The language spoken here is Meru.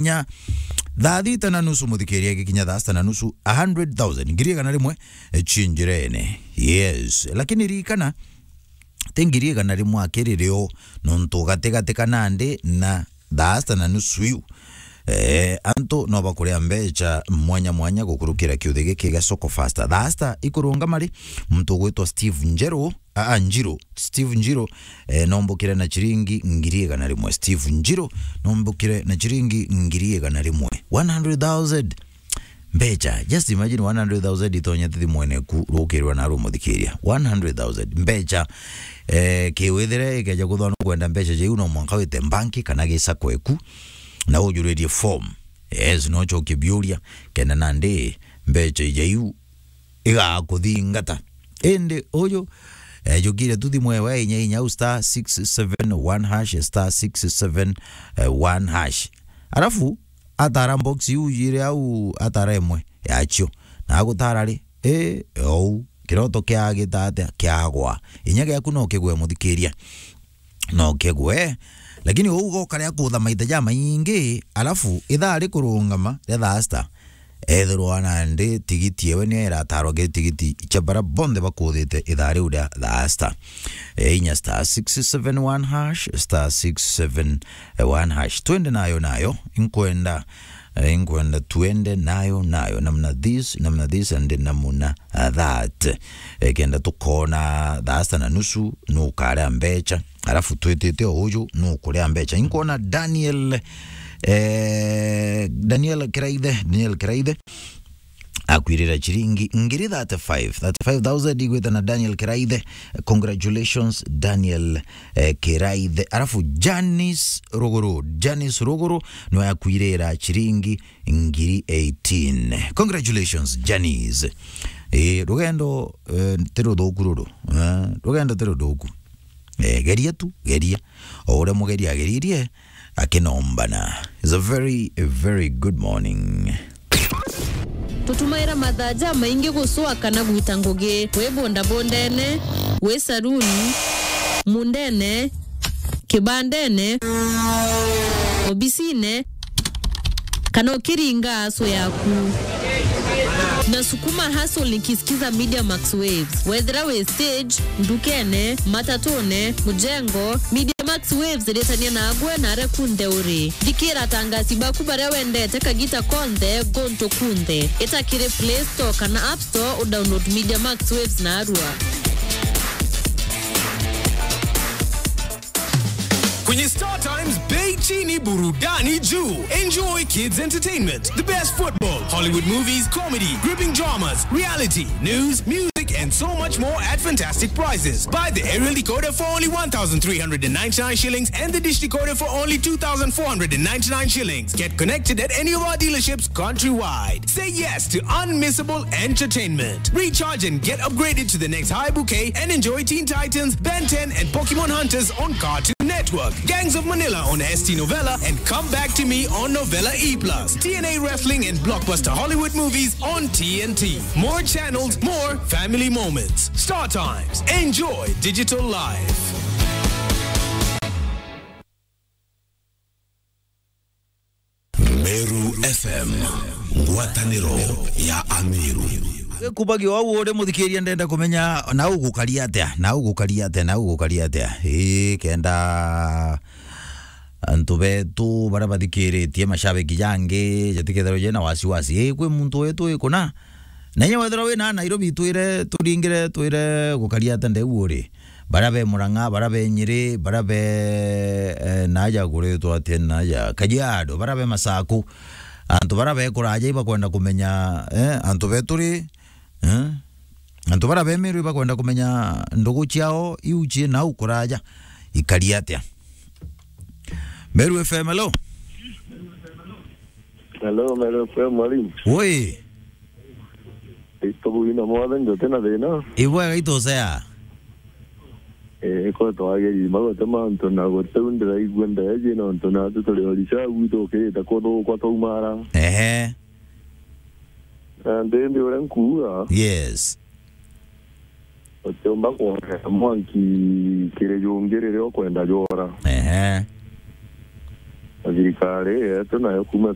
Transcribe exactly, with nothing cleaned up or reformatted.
gikinya thaa thita na nusu, muthikiria, gikinya thaa sita na nusu, a hundred thousand, ngiri igana rimwe, eh, ci njirene. Yes. Lakini ririkana, ti ngiri igana rimwe akiri rio, nontu gatigatika nandi na thaa sita na nusu iu, eh, antu no bakuria mbecha mwanya mwanya gukurukira kiuthi giki gia Soko Fasta. Thaa sita ikurungama ri, muntu ugwitwa Steve Njeru, a, a, Njiro, Steve Njiro, eh, nombukire na chiringi ngiri igana rimwe. Steve Njiro, nombukire na chiringi ngiri igana rimwe. One hundred thousand. Mbecha, just imagine one hundred thousand itonyete thimwene ku, rukirwa na rumuthikiria. One hundred thousand. Mbecha, eh, kiwithire ikeja kuthwa nukwenda mbecha jaiu, no mwanka wite mbanki kana gisako eku, na ujuririe form. Yes, no chokie biuria, kenda nandi mbecha ijaiu igakuthingata. Indi uyu, eh, jukire tu thimu ewe inya inya au star six seven one hash, star six seven one hash. Arafu, atara box iu ijiri au, atara imwe yacio. Na agutara ri, eh, ou, kiroto kiagita atia, kiagwa. Inya giaku no kigwe, muthikiria. No kigwe, lakini uu goka ria kutha maita jamaingi, alafu ithaa rikurungama ria thaa sita, ethirwa nandi tigiti ewe niyo iratarwa kiri tigiti cia bara bonthe bakuthite ithaa riu ria thaa sita. E, inya star six seven one hash, star six seven one hash. Twende nayo, nayo, inkwenda, eh, inkwenda twende nayo, nayo, namna this, namna this, and namna, uh, that. Eh, kenda tukona thaa sita na nusu, nukaria mbecha. Alafu twitite o uju, nukuria mbecha. Inkwona Daniel, eh, Daniel Kiraithe, Daniel Kiraithe, akwirira chiringi ngiri thirty-five, thirty-five thousand igwita na Daniel Kiraithe. Congratulations, Daniel, eh, Kiraithe. Alafu Janice Ruguru, Janice Ruguru, niwe akwirira chiringi ngiri eighteen. Congratulations, Janice. Eh, rugendo, eh, ti ruthuku ruru. Eh, rugendo ti ruthuku. Eh, geria tu, geria. O uria mugeri ageririe, akinombana. It's a very, a very good morning. Tutumaira mathaa jamaingi gucua kana gwita ngugi, wi bondabondene, wi saruni, mundene, kibandene, obisine, kana ukiringa aso yaku. Nasukuma hustle nikisikiza Media Max Waves. Wethira wi stage, ndukene, matatune, mujengo, Media Max Waves iritania nagwe na aria kunthe uri. Thikira atangasi baku baria wendete kagita konthe, guntu kunthe. Ita kiri Play Store kana App Store, udownload Media Max Waves narua. Kwenye Star Times, bei chini, burudani juu. Enjoy kids entertainment, the best football, Hollywood movies, comedy, gripping dramas, reality, news, music, and so much more at fantastic prices. Buy the aerial decoder for only one thousand three hundred and ninety-nine shillings and the dish decoder for only two thousand four hundred and ninety-nine shillings. Get connected at any of our dealerships countrywide. Say yes to unmissable entertainment. Recharge and get upgraded to the next high bouquet and enjoy Teen Titans, Ben ten, and Pokemon Hunters on Cartoon Network, Gangs of Manila on S T Novella, and Come Back to Me on Novella E plus, T N A Wrestling and blockbuster Hollywood movies on T N T. More channels, more family moments. Star Times. Enjoy digital life. Meru F M, ngwataniro ya Ameru. Gikubagio au uri muthikiria, ndenda kumenya na ugukaria atia, na ugukaria atia, na ugukaria atia. Ii, kenda antu betu baria bathikiritie, mashabiki jangi, jatikethirwa jena wasiwasi. Ii, kwi muntu wetu ikuna? Na inya wethirwa wina Nairobi, twire, turingire, twire gukaria atia ndeu uri. Baria be Murang'a, baria be Nyeri, baria be, eh, naja kuritwa atia naja, Kajiado, baria be Masaku. Antu baria be kuraja ibakwenda kumenya, eh, antu betu ri, eh? Antu baria be Meru ibakwenda kumenya ndugu ciao iu ci nau kuraja ikari atia. Meru F M, hello? Hello, Meru F M, mwalimu. Woi. Ito bwina mwathe, njote na thina. Ibwega itosea. Eh, ko twageri magote mantu na gote ndiraigua ndeje nontu na tu turi orisha gwitũ ukirite kuthukwa twaumara. Ehe. Na ndindi uria nkuuga. Yes. Utiumba kwongera mwanki kiri jungi riria ukwenda jwora. Ehe. Na thirikari yetu nayo kuuma